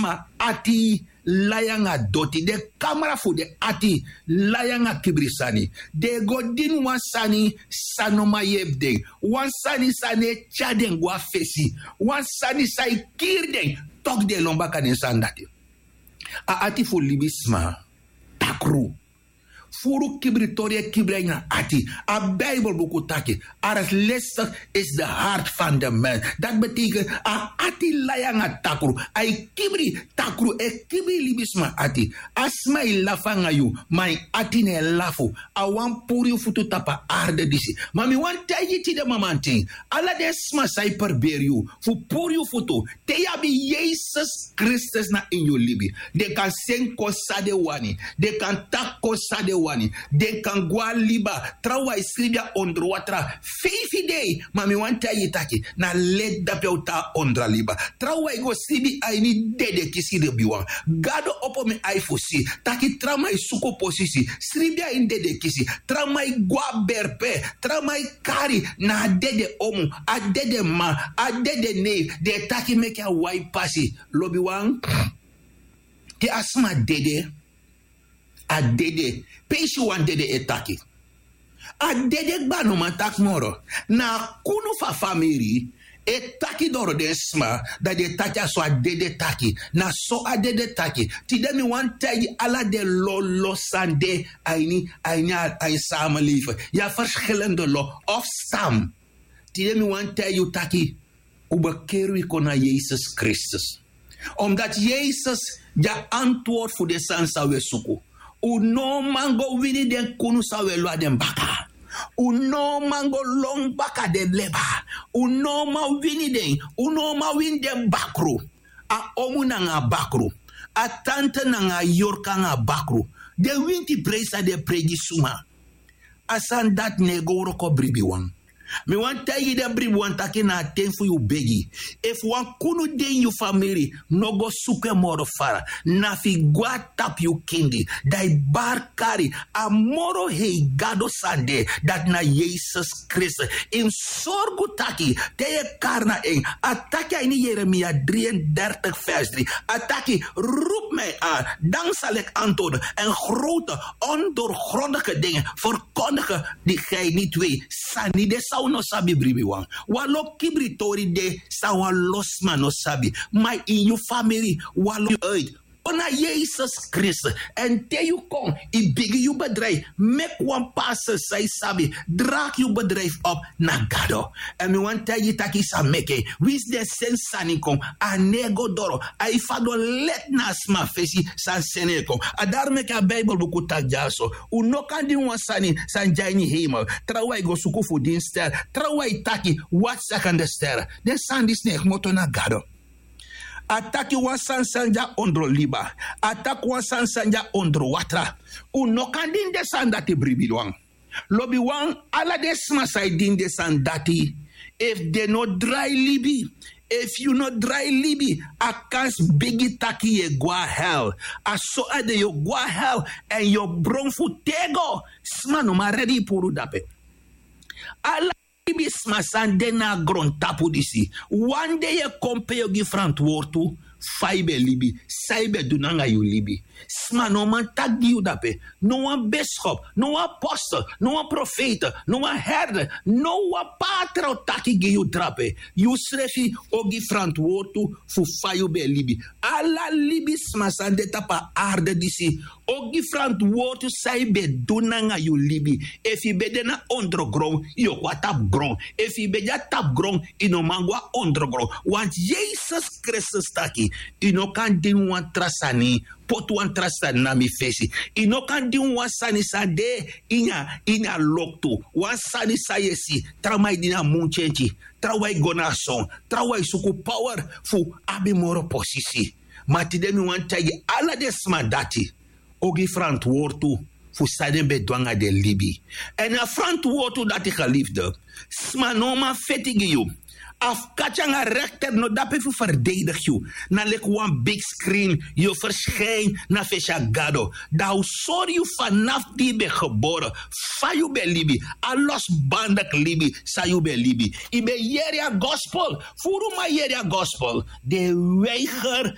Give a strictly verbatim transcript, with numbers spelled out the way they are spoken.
libisma ati lai nanga doti. Den kamra fu den ati lai nanga kibri sani. Den e go dini wan sani san no man yepi den. Wan sani san no e tyari den go na fesi. Wan sani san e kiri den. Toki den e lon baka den sani dati. A ati fu libisma takru. Furu kibritori e kibri na ati. A Bijbelbuku taki: Arglistig is de hart van de mens. Dat betekent a ati lai nanga takru. A e kibri takru, e kibri libisma ati. A sma e lafu nanga yu, ma en ati no e lafu. A wani puru yu futu tapu a arde disi. Ma mi wani taigi yu tide mamanten, ala den sma san e perberi yu fu puru yu futu, te yu abi Yesus Kristus na ini yu libi, den kan seni kon san den wani. Den kan taki kon san den wani. Den kan go na liba. Trawan e sribi na ondro watra feifi dei. Ma mi wani taigi yu taki na leti dape un tan na ondro a liba. Trawan e go sribi a ini dedekisi, lobiwan. Gado opo mi ai fu si taki trawan e suku posisi, sribi a ini dedekisi. Trawan e go na berpe. Trawan e kari na a dede omu, a dede m'ma, a dede nei. Den e taki meke a wai pasi. Lobiwan, te a sma dede, a dede. Peisi wan dede e taki. A dede kba, no man taki moro. Na a kunu fu a famiri e taki doro den sma, dan den e taki a so a dede taki. Na so a dede taki. Tide mi wani taigi ala den lo, lo san de a ini, a ini a, a ini samenleving. Yu abi verschillende lo of stam. Tide mi wani taigi yu taki un bekeri wi kon na Yesus Kristus. Omdat Yesus de a antwoord fu den sani san un e suku. Un no man go wini den kunu san un e lon na den baka. Un no man go lon baka den leba. Un no man wini den. Un no man wini den bakru. A omu nanga a bakru. A tante nanga a yorka nanga a bakru. Den winti prei san den e prei gi suma. A sani dati no e go wroko, bribiwan. Mi wani taigi den bribiwan taki na a ten fu yu begi. Efu wan kunu de ini yu famiri, no go suku en moro fara. Na fu yu go na tapu yu kindi, dan yu bari kari a moro hei Gado san de, dati na Yesus Kristus. Yu mus sorgu taki te yu e kari na en. A taki a ini Yeremia drieëndertig vers drie. A taki: Roep mij aan, dan zal ik antwoorden en grote, ondoorgrondige dingen verkondigen die gij niet weet. Sani de san un no sabi, bribiwan. Wan lo kibritori de san wan lo sma no sabi. Ma ini yu famiri, wan lo uit. Kon na Yesus Kristus. Èn te yu kon, yu bigin yu bedrijf. Meki wan pastor san yu sabi, draag yu bedrijf op na Gado. Èn mi wani taigi yu taki yu sa meki en. Winsi den seni sani kon, a no e go doro. A e fadon leti na a sma fesi san seni en kon. A dati meki a Bijbelbuku taki dyaso: Un no kan dini wan sani san de na ini hemel. Trawan e go suku fu dini ster. Trawan e taki: Wat zeggen de sterren? Den sani disi no e kmoto na Gado. A taki wan sani san de na ondro liba. A taki wan sani san de na ondro watra. Un no kan dini den sani dati, bribiwan. Lobiwan, ala den sma san e dini den sani dati, efu den no drai libi, efu yu no drai libi, a kansi bigi taki yu e go na hel. A so a de, yu o go na hel, èn yu o bron fu tego. Sma no man redi yu puru dape. Ala libisma san de na a grontapu disi, wan dei yu e kon pe yu o gi frantwortu fa yu ben libi, san yu ben du nanga yu libi. Sma no man taki gi yu dape. No wan biskop, no wan apostel, no wan profeet, no wan herder, no wan patra o taki gi yu drape. Yusrefi o gi frantwortu fu fa yu ben libi. Ala libisma san de tapu a arde disi o gi frantwortu san yu ben du nanga yu libi. Efu yu ben de na ondrogron, yu o kon na tapu gron. Efu yu ben de na tapu gron, yu no man go na ondrogron. Want Yesus Kristus taki: Yu no kan dini wan tra sani, poti wan tra sani na mi fesi. Yu no kan dini wan sani san de ini a, ini a loktu. Wan sani san yu e si, trawan e dini a muntyentyi, trawan e go na a son, trawan e suku power fu abi moro posisi. Ma tide mi wani taigi ala den sma dati o gi frantwortu fu san den ben du nanga den libi. Èn a frantwortu dati, geliefde, sma no man feti gi yu. A fu kati nanga rekter no de dape fu ferdedigi yu. Na leki wan bigi skrin yu o ferskin na fesi a Gado. Dan a o sori yu fanafu di yu ben gebore, fa yu ben libi, a losbandik libi san yu ben libi. Yu ben yere a gospel, furu man yere a gospel, den e weiger